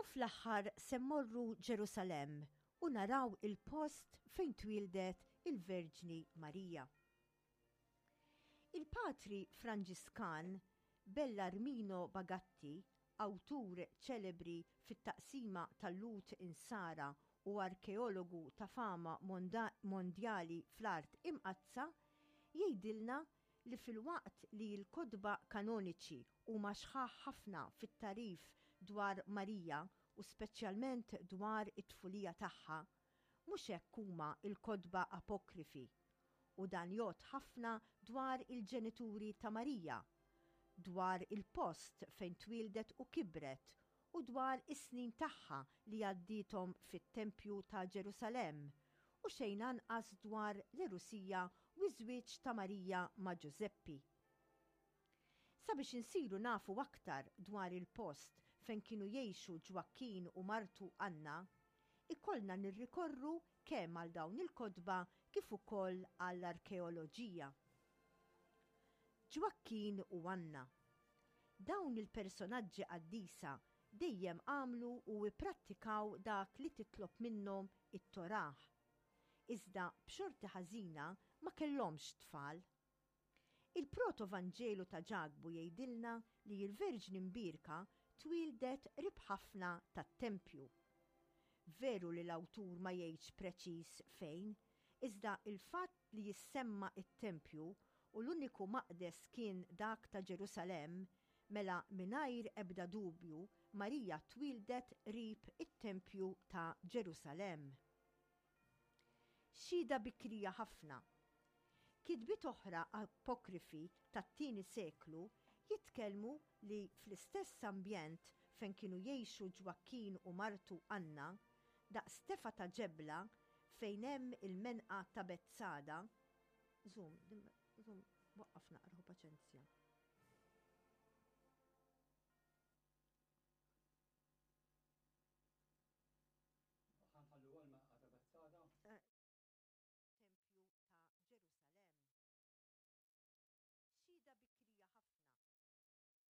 U fl-aħħar se mmorru Ġerusalemm u naraw il-post fejn twieldet il-Verġni Marija. Il-Patri Franġiskan Bellarmino Bagatti, awtur ċelebri fit-taqsima tal-Lhud Insara u arkeologu ta' fama mondjali fl-Art Imqaddsa, jgħidilna li filwaqt li l-kotba kanoniċi huma sħaħ ħafna fit-tagħrif dwar Marija u speċjalment dwar it-tfulija tagħha, mhux hekk huma l-kotba apokrifi. U dan jgħodd ħafna dwar il-ġenituri ta' Marija, dwar il-post fejn twieldet u kibret u dwar is-snin tagħha li għaddiethom fit-tempju ta' Ġerusalemm, u xejn anqas dwar l-għerusija u ż-żwieġ ta' Marija ma' Ġużeppi. Sabiex insiru nafu aktar dwar il-post fejn kienu jgħixu Ġwakkin u martu Anna, ikollna nirrikorru kemm għal dawn il-kotba kif ukoll għall-arkeoloġija. Ġwakkin u Anna. Dawn il-personaġġi qaddisa dejjem għamlu u ipprattikaw dak li titlob minnhom it-Torah. Iżda b'xorti ħażina ma kellhomx tfal. Il-Proto-Vanġelu ta' Ġakbu jgħidilna li l-Verġni Mbierka twieldet qrib ħafna tat-tempju. Veru li l-awtur ma jgħidx preċiż fejn, iżda l-fatt li jissemma t-tempju u l-uniku maqdes kien dak ta' Ġerusalemm, mela mingħajr ebda dubju Marija twieldet qrib it-tempju ta' Ġerusalemm. Xhieda bikrija ħafna. Kitbiet oħra apokrifi tat-tieni seklu jitkellmu li fl-istess ambjent fejn kienu jgħixu Ġwakkin u martu Anna, daqs tefgħa ta' ġebla fejn hemm il-menqa ta' Betsada, Żomm, żomm, waqqaf naqra ħu paċenzja. Ħanħallu għal menqa ta' Betsada. Tempju ta' Ġerusalemm. Xhieda bikrija ħafna.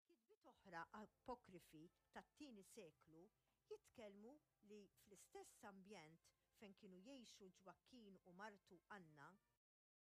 Kitbiet oħra apokrifi tat-tieni seklu jitkellmu li fl-istess ambjent fejn kienu jgħixu Ġwakkin u martu Anna,